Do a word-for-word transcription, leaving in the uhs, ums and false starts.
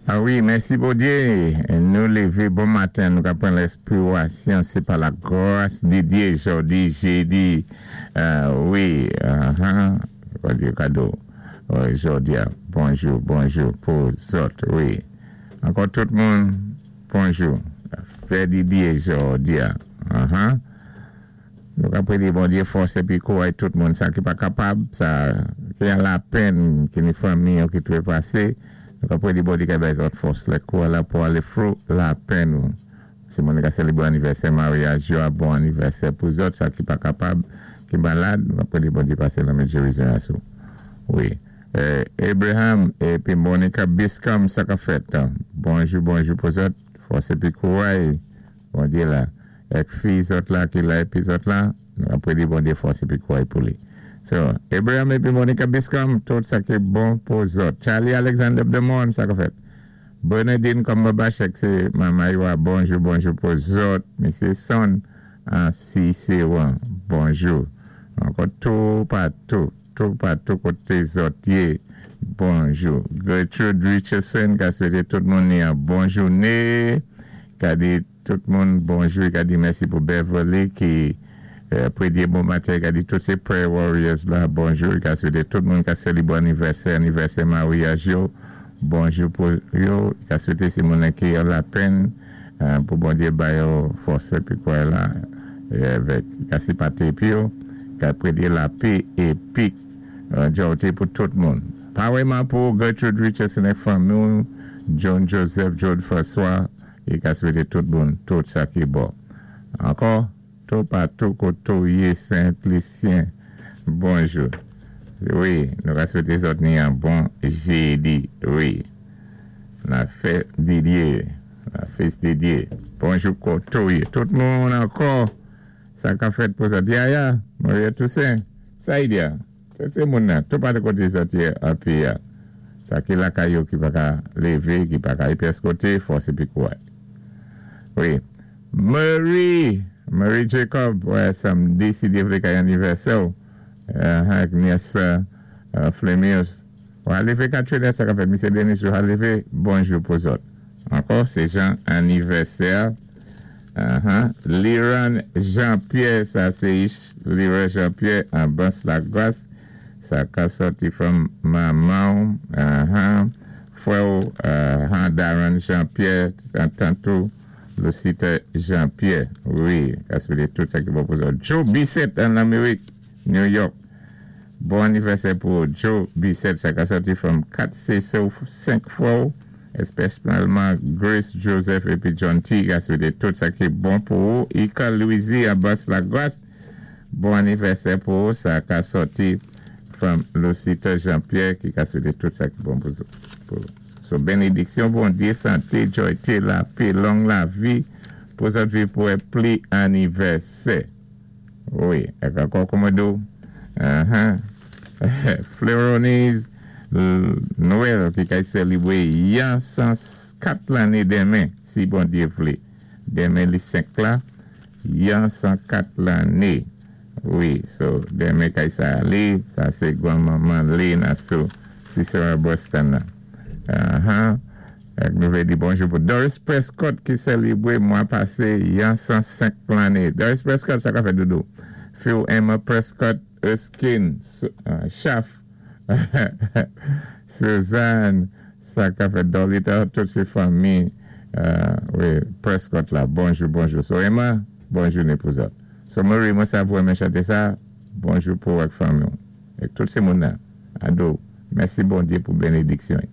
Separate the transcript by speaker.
Speaker 1: Ah wi, mèsi Bondyé. Nou lévé bon maten, nou ka pran lèspirasyon, sé pa la gras di Dye, jòdi, jédi. Euh, wi, uh-huh. Bondye kado. Wi, jòdi, bonjou, bonjou pou zòt, wi. Ankò tout moun, bonjou. Fèt di Dye, jòdi. Uh-huh. Nou ka pwédé Bondye fòs épi kouray tout moun sa ki pa kapab, sa ki an lapenn, ki ni fanmi ou ki twépasé. Nou ka pwédé Bondye ka bay zòt fòs lè kouray la pou alé through lapenn ou. Si moun ka sélébwé anivèsè maryaj yo, bon anivèsè pou zòt, sa ki pa kapab, ki malad, nou ka pwédé Bondye pasé lanmen gérizon asou. Wi. Euh, Abraham épi Monica Biscom, sa ka fèt. Bonjou, bonjou pou zòt. Fòs épi kouray. Bondye la. Èk fi zòt la ki la épi zòt la, nou ka pwédé Bondye fòs épi kouray pou li. So, Abraham épi Monica Biscom, tout sa ki bon pou zòt. Charlie Alexander Demon, sa ka fèt. Bernadine Cumberbatch, sé manman yo, bonjou, bonjou pou zòt. Misyé Son, an Siséwan, bonjou. Ankò tou patou, tou patou koté zòt yé, bonjou. Gertrude Richardson, ka swété tout moun ni yon bon jouné. Ka di tout moun bonjou, ka di mèsi pou Beverly ki euh, pwédé bon maten, ka di tout sé prayer warriors la, bonjou, ka swété tout moun ka sélébwé anivèsè, anivèsè maryaj yo, bonjou pou yo, ka swété si moun ki an lapenn, euh, pou Bondye ba yo fòs épi kouray la, é avèk ka sipòté épi yo, ka pwédé lapè épi euh, jòyté pou tout moun. Pawèyman pou Gertrude Richardson é fanmi, John Joseph, John François, é ka swété tout moun, tout sa ki bon. Ankò, tou patou koté ou yé Saint-Lucien, bonjou. Wi, nou ka swété zòt ni yon bon jédi, wi. La fèt di Dye, la fès di Dye. Bonjou koté ou yé. Tout moun ankò, sa ka fèt pou zòt. Yaya, Maria Toussaint, Saïdia, tout sé moun nan, tou patou koté zòt yé épi ya. Sa ki lakay yo ki pa ka lévé, ki pa ka pyès koté, fòs épi kouray. Wi. Marie, Marie Jacob, wè, samdi, si Dye vlé kay anivèsè, euh, ak nyès euh, Flemius. Ou lévé Katrina, sa ka fèt, Misyé Denis, ou lévé, bonjou pou zòt. Ankò, sé jan anivèsè. Uh-huh. Liran Jean-Pierre, sa sé Liran Jean-Pierre an Bas la Gras. Sa ka sòti from manman. Uh-huh. Frè, uh, Darren Jean-Pierre, tant ou, Lucita Jean-Pierre. Wi, ka swété tout sa ki bon pou zòt. Joe Bissett an Amerik, New York. Bon anivèsè pou Joe Bissett, sa ka sòti from kat sé senk frè, espesyalman Grace Joseph épi John T. Ka swété tout sa ki bon pou ou. Ika Louisi à Bas la Grâce. Bon anivèsè pou ou, sa ka sòti from Lucita Jean-Pierre ki ka swété tout sa ki bon pou pou So, bénédiksyon, Bondye, santé, jòyté, lapè, long lavi, pou zòt viv pou wè plis anivèsè. Wi, é ankò kòmando, uh-huh. Fleuronis Noël ki ka sélébwé yon san kat lanné denmen, si Bondye vlé. Denmen li senk la, yon san kat lanné. Wi, so denmen kay sa li, sa sé gwanmanman Lena sou Cicero Boston. Uh-huh. Nou vlé di bonjou pou Doris Prescott ki sélébwé mwa pasé yon san senk lanné. Doris Prescott, sa ka fèt doudou. Phil Emma Prescott, Erskine, uh, Schaff, Suzanne, sa ka fèt Dolita, tout sé fanmi, uh, wi, Prescott la. Bonjou, bonjou. So Emma, bonjou né pou zòt. So Marie, mwen sav ou renmen chanté sa, bonjou pou ak fanmi. É tout sé moun nan. Ado, mèsi Bondye pou bénédiksyon.